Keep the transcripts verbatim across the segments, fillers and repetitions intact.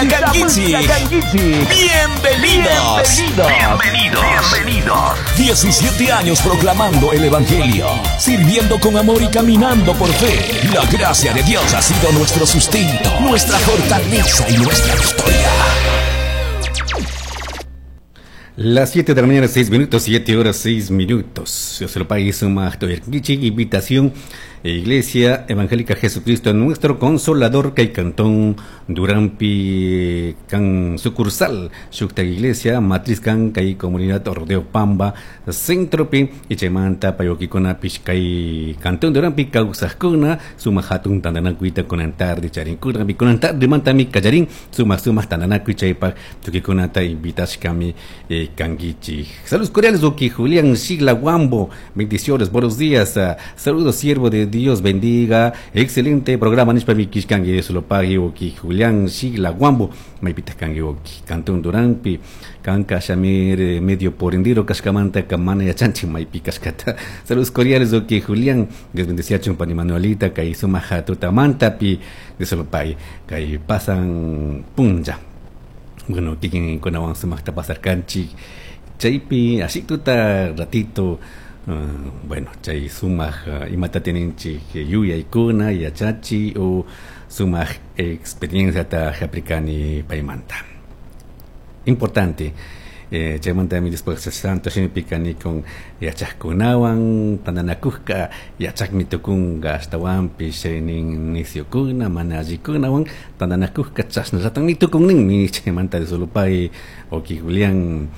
Shamushka kankichik. Bienvenidos. Bienvenidos. Bienvenidos. diecisiete años proclamando el Evangelio, sirviendo con amor y caminando por fe. La gracia de Dios ha sido nuestro sustento, nuestra fortaleza y nuestra victoria. Las siete de la mañana, seis minutos, siete horas, seis minutos. Dios lo pague, suma invitación. Iglesia Evangélica Jesucristo, nuestro Consolador, kay Cantón Duranpi, kan sucursal, Shukta Iglesia, Matriz kan, kay Comunidad Rodeo Pamba, Centropi, y chaymanta, payokikuna, kay Cantón Duranpi, kawsajkuna, suma hatun tantanakuita kunan tarde, charinkuna, kunan tarde, mantami, kallarin, suma suma tantanakuy chaypak, tukikunata invitashkami, eh, kankichik. Saludos cordiales, Oki Julián Shigla Guambo, bendiciones, buenos días, uh, saludos, siervo de Dios bendiga, excelente programa, nishpa mi kishkangi, eso lo pague, Oki Julián Shigla Guambo, maypitaj kanki Oki Cantón Duranpi, kanka shamir medio por endiro kashkamanta kamana yachanchi maypi kashkata. Saludos cordiales, Oki Julián, Dios bendeciachun pani Manuelita, kay sumaja tutamantapi, Dios lo pague, kay pasan punja. Bueno, kikin kunawan sumajta pasar kanchi, chaypi, así tuta ratito. Uh, bueno, chay sumaj uh, imata tininchik yuyaykuna yachachi o sumaj experiencia ta jap'ikani paymanta. Importante, eh, chaymanta mi después santo shimipikani con yachajkunawan tantanakushka yachakmi tukunka ashtawanpish nin nisyukuna mana allikunawan tantanakushka chashnallatami tukunninmi chaymanta de solupay Oki Julián.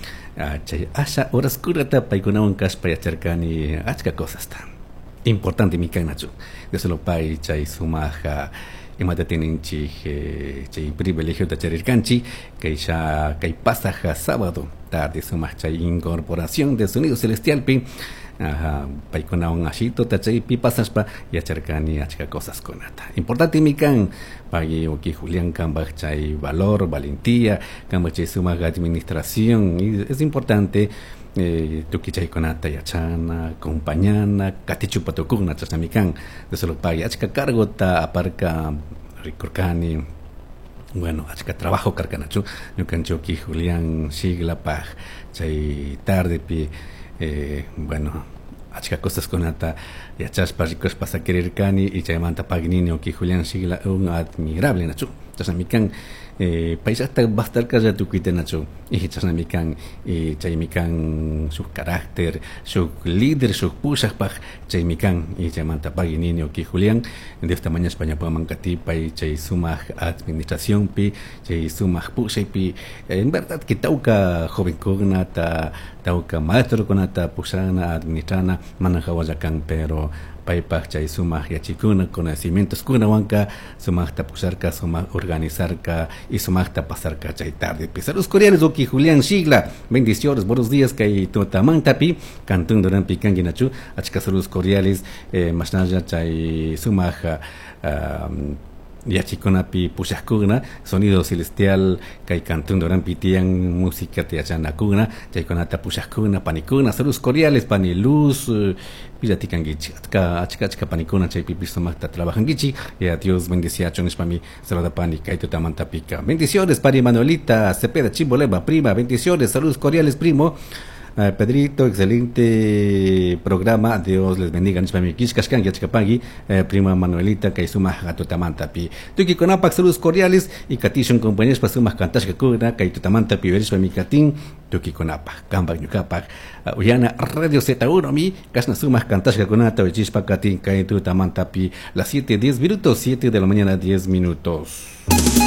Chay asha horas kurata paykunawan kashpa yacharkani achka cosasta. Importante mi kanachu. De solo pay chay sumaja imata tininchik eh, chay privilegio ta charirkanchik kay sha kay pasaja sábado tarde sumaj chay incorporación de sonido celestial pi. Ajá, paykunawan ashito ta chaypi pasashpa yacharkani achka cosas kunata. Importante mi kan pagui Oki Julián kanpaj chay valor, valentía, kanpaj chay sumaq administración, y es importante eh, tukuy chaykunata yachana, acompañana, katichupa tukuna chashnami kan. De solo pagui achka cargota aparka rikurkani. Bueno, achka trabajo karkanachu ñukanchik Oki Julián Shiglapaj chay tardepi. Eh, bueno, achka cosas kunata yachashpa rikushpa sakirirkani y chaymanta pagnini Oki Julián Shigla un admirable nachu chashnami kan eh, payllata bastarkalla tukuyta nachu y chashnami kan y chaymi kan shuk carácter, shuk líder, shuk pushajpaj chaymi kan y chaymanta pagnini Oki Julián de esta mañana ñawpaman katipay chay sumaj administracionpi chay sumaj pushaypi en verdad que tawka jovenkunata tawka maestrokunata pushana administrana mana hawalla kan pero paypaj chay sumaj yachikuna conocimientos kunawanka sumajta pusharka sumaj organizarka y sumajta pasarka chay tarde. Saludos cordiales Oki Julián Shigla, bendiciones, buenos días kay tutamantapi Cantón Duranpi kanki nachu achka saludos cordiales eh, mashnalla chay sumaj um, yachikunapi pushajkuna sonido celestial kay Cantón Duranpi tiyan música yachanakuna chaykunata pushajkuna panikuna saludos cordiales pani Luz uh, pillatikankichik achka achka achka panikuna chaypipish sumaqta trabajankichik y a Dios bendeciachun nishpami saludapani kay tutamantapika. Bendiciones pani Manuelita Cepeda Chimbolema prima, bendiciones, saludos cordiales primo. Uh, Pedrito, excelente programa, Dios les bendiga, nishpami kishkashkanki achkapangui, eh, prima Manuelita kay sumaj tutamantapi. Tukikunapak saludos cordiales y katishun compañeros sumaq kantashkakuna kay tutamantapi verishpami katin tukikunapak kanpak ñukapak uh, uyana Radio Z uno mi kashna sumaq kantashkakunata uyachishpa katin kay tutamantapi las siete diez minutos, siete de la mañana diez minutos.